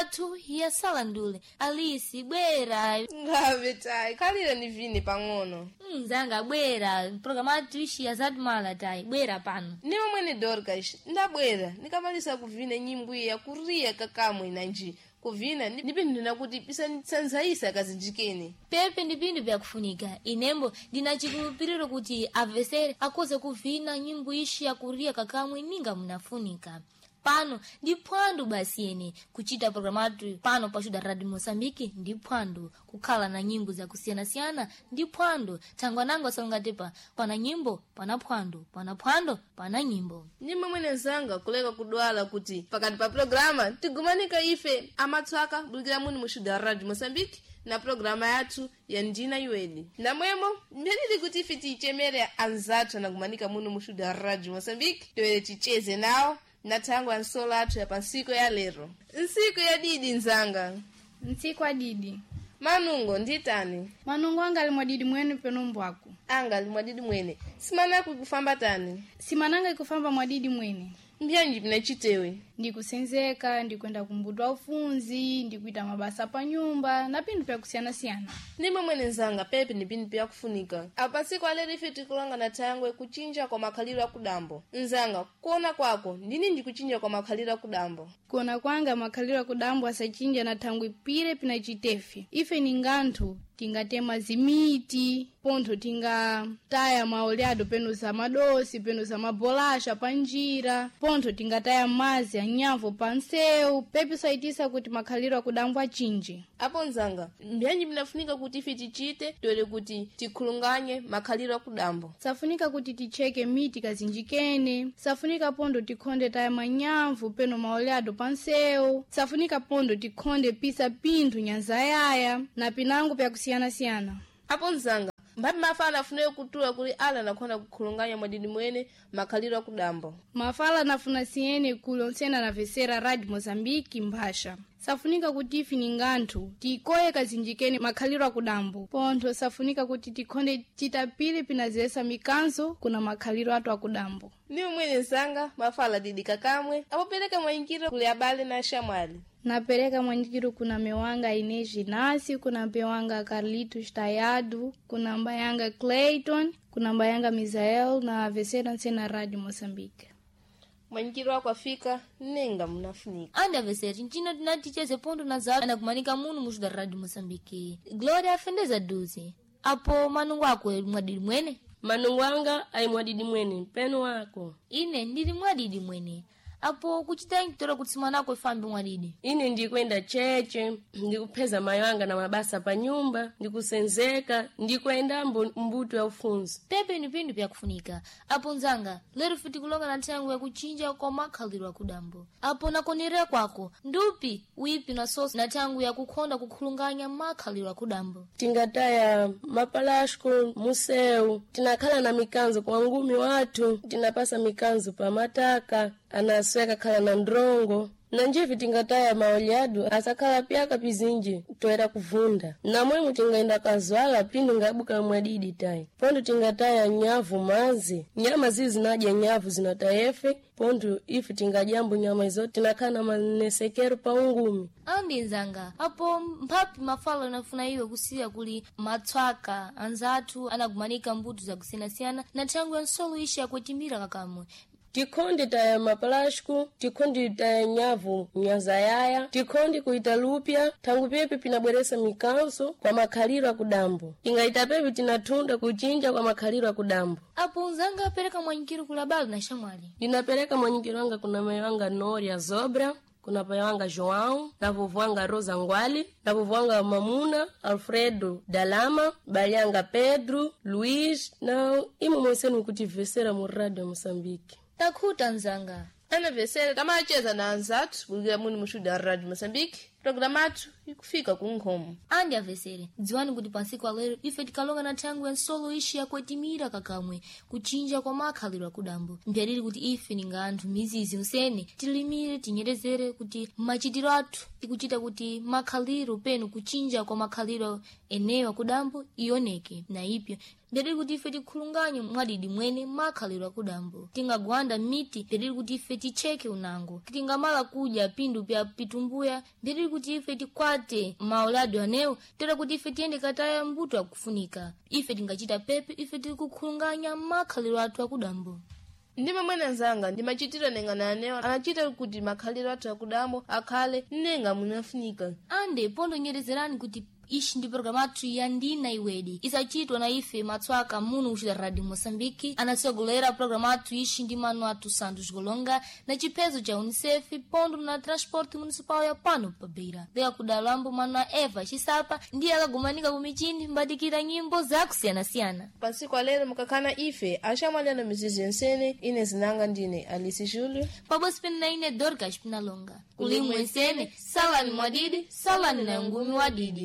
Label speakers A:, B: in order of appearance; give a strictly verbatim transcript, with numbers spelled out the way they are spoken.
A: Athu yasala ndule. Alisi bwera.
B: Ngave tayi khalire ni vini pang'ono.
A: Mzanga bwera, programu athu ishi yazatumala tayi, bwera pano.
B: Ndimo mwene Dorcas, ndabwera ndikamalisa kuvina nyimbo iya kuriya kakamwe nanji kuvina ndipindina kuti pisanzayisa kazinjikeni.
A: Pepe ndi pinthu pyakufunika. Inembo ndina chikhulupiriro kuti amvesere akhoza kuvina nyimbo ishi yakuriya kakamwe ninga munafunika. Pano ndi phwando basi ene kuchita programu athu pano pa Xuda Radio Moçambique ndi phwando, kukhala na nyimbo zakusiyanasiyana ndi phwando. Thangwa nango asalongatepa pana nyimbo pana phwando, pana phwando pana nyimbo.
B: Ndimo mwene zanga kuleka kudwala kuti pakati pa programa tigumanika ife amatswaka bulikira muni mu Xuda Radio Moçambique na programa yathu ya ndina iweni. Namwemo mbyenili kuti ife tiyichemere anzathu anagumanika muno mu Xuda Radio Moçambique toyere ticheze nawo na thangwi ansolo athu ya pansiku ya lero. Nsiku ya didi nzanga.
C: Ntsiku adidi.
B: Manungo nditani?
C: Manungo anga ali mwadidi mwene peno mbwaku.
B: Anga ali mwadidi mwene. Simanaku ikufamba tani?
C: Simananga ikufamba mwadidi mwene.
B: Mbyanji pinachitewe?
C: Ndikusenzeka, ndikwenda kumbuto aufunzi, ndikuita mabasa pa nyumba na pinthu pyakusiyana-siyana.
B: Ndimo mwene nzanga pepe ni pinthu pyakufunika. Apa tsiku alero ife tikulonga na thangwe kuchinja kwa makhaliro akudambo. Nzanga, kuona kwako ndini ndikuchinja kwa makhaliro akudambo?
C: Kuona kwanga makhaliro akudambo asachinja na thangwi pire pinachitefe. Ife ni nganthu tingatema zimiti, pontho tingataya maoleado peno za madosi, peno za mabolasha pa njira, pontho tingataya mazi anyamvo pa nsewu, pepi saitisa kuti makhaliro akudambo achinje.
B: Apo nzanga, mbyanji pinafunika kuti ife tichite toere kuti tikhulunganye makhaliro akudambo.
C: Safunika kuti ticheke miti kazinjikene, safunika pontho tikhonde taya manyamvu peno maoleado pa nsewu, safunika pontho tikhonde pisa pinthu nyanzayaya na pinango pyakusiyana-siyana.
B: Apo nzanga, mphapi mafala afunayo kutula kuli ala anakhona kukhulunganya mwadidi mwene makhaliro akudambo.
C: Mafala anafuna siyene kuli ontsene anavesera Radio Moçambique mphasha. Safunika kuti ife ni nganthu tikoye kazinjikeni makhaliro akudambo. Pontho safunika kuti tikhonde titapire pinazesa mikanzo kuna makhaliro athu akudambo.
B: Ndiwo mwene nzanga mafala didi kakamwe apopereka mwayingiro kuli abale na axamwali.
C: Napereka mwanyikiro kuna mewanga Inês Inácio, kuna mpewanga Carlitos Tayado, kuna mbayanga Clayton, kuna mbayanga Misael na avesera ntsena Radio Moçambique.
B: Mwanyikiro wako afika nenga munafunika.
A: Andi avesere ncino tinaticheze pontho na zawo anakumanika muno mu Xuda Radio Moçambique. Glória afendeza duzi. Apo manungo ako ali mwadidi mwene?
D: Manungo anga ayi mwadidi mwene, mpeno wako.
A: Ine ndili mwadidi mwene. Apo kuchita nkitora kuti simanako ifambe mwadidi.
D: Ine ndikwenda cheche, ndikupheza mayo anga na mabasa pa nyumba, ndikusenzeka, ndikwenda mbu, mbuto ya ufunzi.
A: Pepe ni pinthu pyakufunika. Apo nzanga, lero futi kulonga na nthango yakuchinja kwa makhaliro akudambo. Apo nakonerera kwako, ndupi wipi na soso na nthango yakukhonda kukhulunganya makhaliro akudambo.
D: Tingataya mapalasco museu, tinakhala na mikanzo kwa ngumi wathu, tinapasa mikanzo pa mataka, anasweka khala na ndrongo. Na njivi tingataya maolyadu asakhala pyaka pizinji toera kuvunda. Namwemo tingaenda kazwala pindu ngabuka mwadidi tayi. Pontho tingataya nyavu mazi, nyama zizi zinadya nyavu zinatayefe, pontho ife tingadyambo nyama izo tinakhala na manesekero pa ungumi.
A: Andi nzanga, apo mphapi mafala anafuna iwe kusiya kuli matswaka anzathu anakumanika mbuto zakusiyanasiyana na nthango ya nsolo ishi yakutimira kakamwe.
D: Tikhonde taya mapalasco, tikhonde taya nyavu nyazayaya, tikhonde kuita lupya, thangu pepe pinabweresa mikanzo kwa makhaliro akudambo. Tingaita pepe tinathunda kuchinja kwa makhaliro akudambo.
A: Apo nzanga apereka mwanyikiro kula balo na xamwali.
D: Ndinapereka mwanyikiro wanga kuna mayi wanga Noria Zobra, kuna pai wanga João, na vovo wanga Rosa Ngwali, na vovo wanga Mamuna, Alfredo Dalama, bali Pedro, Luiz, na imo mwensenu kutivesera mu Radio Moçambique.
A: Takhuta nzanga.
B: Anavesera tamacheza na anzathu bulikira muni mu Xuda Radio Moçambique. Programa athu ikufika ku nkhomo.
A: Andi avesere, dziwani kuti pansiku alero ife tikalonga na nthango ya nsolo ishi yakuetimira kakamwe kuchinja kwa makhaliro akudambo. Mpyaliri kuti ife ninga anthu mizizi usene tilimire tinyerezere kuti machitiro athu tikuchita kuti makhaliro penu kuchinja kwa makhaliro eneyo akudambo ioneke na ipyo Mbedili kuti ife tikhulunganye mwadidi mwene makhalidwe akudambo. Tingagwanda miti, mbedili kuti ife ticheke unango. Tingamala kudya pindu pya pitumbuya, mbedili kuti ife tikwate maulado anewo, tera kuti ife tiyende kataya mbuto akufunika. Ife tingachita pepe, ife tiri kukhulunganya makhalidwe athu akudambo.
B: Ndime mwene nzanga ndimachitira nengana anewo anachita kuti makhaliro athu akudambo akhale nenga munafunika.
A: Ande pondonyerezerani kuti ishi ndi programu athu ya Ndina Iwedi, isachitwa na ife matswaka muno kuchita Radio Moçambique. Anatsogolera programu athu ishi ndi mano athu Santos Golonga na chiphezo cha UNICEF pondo na Transporte Municipal ya pano pa Beira. Leka kudalambo mano a Eva Chisapa ndiye akagumanika kumichini mbatikira nyimbo zakusiyanasiyana.
B: Pansiku alero mukakhala ife axamwaleno mizizi yensene. Ine zinanga ndine Alice Júlio.
A: Pabodzi pene na ine Dorcas Pinalonga. Kulimwe nsene, salani mwadidi, salani na ngumi wadidi.